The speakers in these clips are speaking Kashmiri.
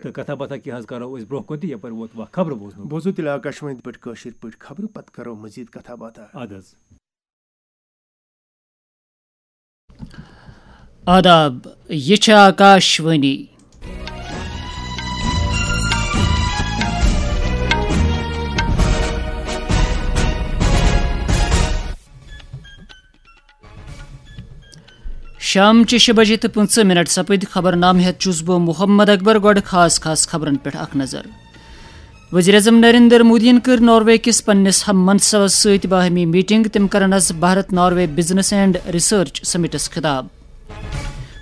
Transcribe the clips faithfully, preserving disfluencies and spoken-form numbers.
تہٕ کتھا باتھا کینٛہہ حظ کرو أسۍ برونٛہہ کُن تہٕ یپٲرۍ ووت وقت خبرٕ بوزنُک۔ بوزو تیٚلہِ آکاشوانی پٮ۪ٹھ کٲشِر پٲٹھۍ خبرٕ، پتہٕ کرو مزید کتھا باتھا۔ اَدٕ حظ۔ آداب، یہِ چھِ آکاشوانی۔ شام چہِ شےٚ بجے تہٕ پٕنٛژٕہ منٹ سپٕدۍ۔ خبرنامہٕ ہٮ۪تھ چھُس بہٕ محمد اکبر۔ گۄڈٕ خاص خاص خبرن پٮ۪ٹھ اکھ نظر۔ وزیر اعظم نریندر مودیَن کٔر ناروے کِس پننِس ہم منصبس سۭتۍ باہمی میٹنگ۔ تِم کرن از Bharat Norway business and research سمٹس خطاب۔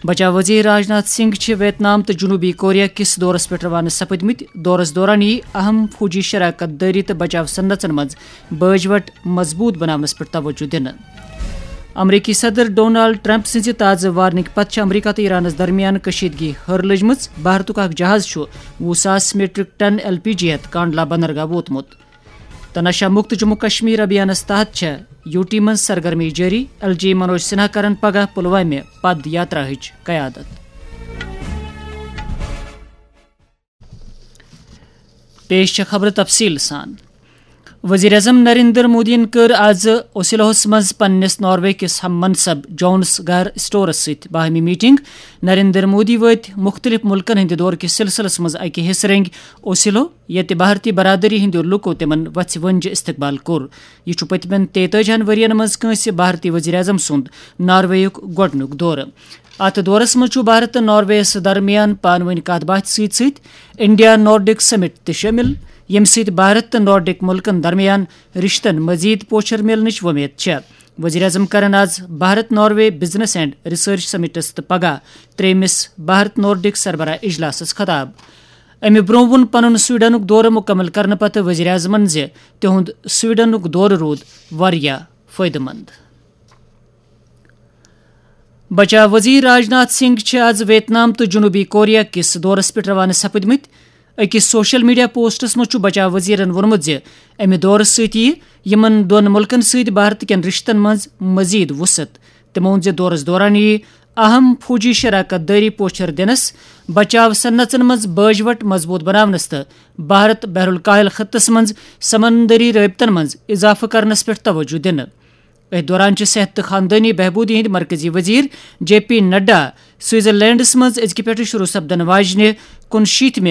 بچاو وزیر راجناتھ سنگھ چھِ ویتنام تہٕ جنوبی کوریا کِس دورس پٮ۪ٹھ روانہٕ سپٕدمٕتۍ۔ دورس دوران یِیہِ اہم فوجی شراکت دٲری تہٕ بچاو صنعژن منٛز باج وٹ مضبوط بناونس پٮ۪ٹھ توجہ دِنہٕ۔ امریکی صدر ڈونالڈ ٹرمپ سٕنزِ تازٕ وارننگ پتہٕ چھِ امریکہ تہٕ ایرانس درمیان کشیدگی ہر لٔجمٕژ۔ بھارتُک اکھ جہاز چھُ وُہ ساس میٹرک ٹن ایل پی جی ہٮ۪تھ کانڈلا بندرگاہ ووتمُت۔ تہٕ نشہ مکت جموں کشمیر ابھیانس تحت چھےٚ یو ٹی منٛز سرگرمی جٲری۔ ایل جی منوج سنہا کرن پگاہ پلوامہِ پد یاتراہٕچ قیادت۔ پیش چھےٚ خبرٕ تفصیٖل سان۔ وزیر اعظم نریندر مودیَن کٔر آز اوسلوہس منٛز پننِس ناروے کِس ہم منصب جونس گار اسٹورس سۭتۍ باہمی میٹنگ۔ نریندر مودی وٲتۍ مُختٔلِف مُلکن ہٕنٛدِ دورٕ کِس سلسلس منٛز اکہِ حصہٕ رنگۍ اوسلو، ییٚتہِ بھارتی برادری ہٕنٛدیو لوٗکو تِمن وژھِ ؤنجہِ استقبال کوٚر۔ یہِ چھُ پٔتمٮ۪ن تیتٲجی ہن ؤرین منٛز کٲنٛسہِ بھارتی وزیر اعظم سُنٛد نارویُک گۄڈٕنیُک دورٕ۔ اتھ دورس منٛز چھُ بھارت تہٕ نارویس درمیان پانہٕ وٲنۍ کتھ باتھِ سۭتۍ سۭتۍ انڈیا نارڈک سمٹ تہِ شٲمِل، ییٚمہِ سۭتۍ بھارت تہٕ نارڈک مُلکن درمیان رشتن مزید پوچھر میلنٕچ وۄمید چھےٚ۔ وزیر اعظم کرن آز Bharat Norway business and research summits تہٕ پگاہ ترٛیٚیمِس بھارت نارڈک سربراہ اجلاسس خطاب۔ امہِ برونٛہہ ووٚن پنُن سویڈنُک دورٕ مُکمل کرنہٕ پتہٕ وزیر اعظمن زِ تِہُنٛد سویڈنُک دورٕ روٗد واریاہ فٲیدٕ مند۔ بچاو وزیر راجناتھ سنگھ چھِ آز ویتنام تہٕ جنوبی کوریا کِس دورس پٮ۪ٹھ روانہٕ سپٕدمٕتۍ۔ أکِس سوشل میڈیا پوسٹس منٛز چھُ بچاو وزیرن ووٚنمُت زِ امہِ دورٕ سۭتۍ یِیہِ یِمن دۄن مُلکن سۭتۍ بھارت کٮ۪ن رشتن منٛز مزید وسعت۔ تِمو ووٚن زِ دورس دوران یِیہِ اہم فوجی شراکت دٲری پوچھر دِنس، بچاو صنعژن منٛز باج وٹ مضبوط بناونس تہٕ بھارت بحر الکاہل خطس منٛز سمندری رٲبطن منٛز اضافہٕ کرنس پٮ۪ٹھ توجہ دِنہٕ۔ أتھۍ دوران چھِ صحت تہٕ خاندٲنی بہبوٗدی ہٕنٛدۍ مرکزی وزیر جے پی نڈا سوئٹزرلینڈس منٛز أزکہِ پٮ۪ٹھٕ شروع سپدن واجنہِ کُنشیٖتمہِ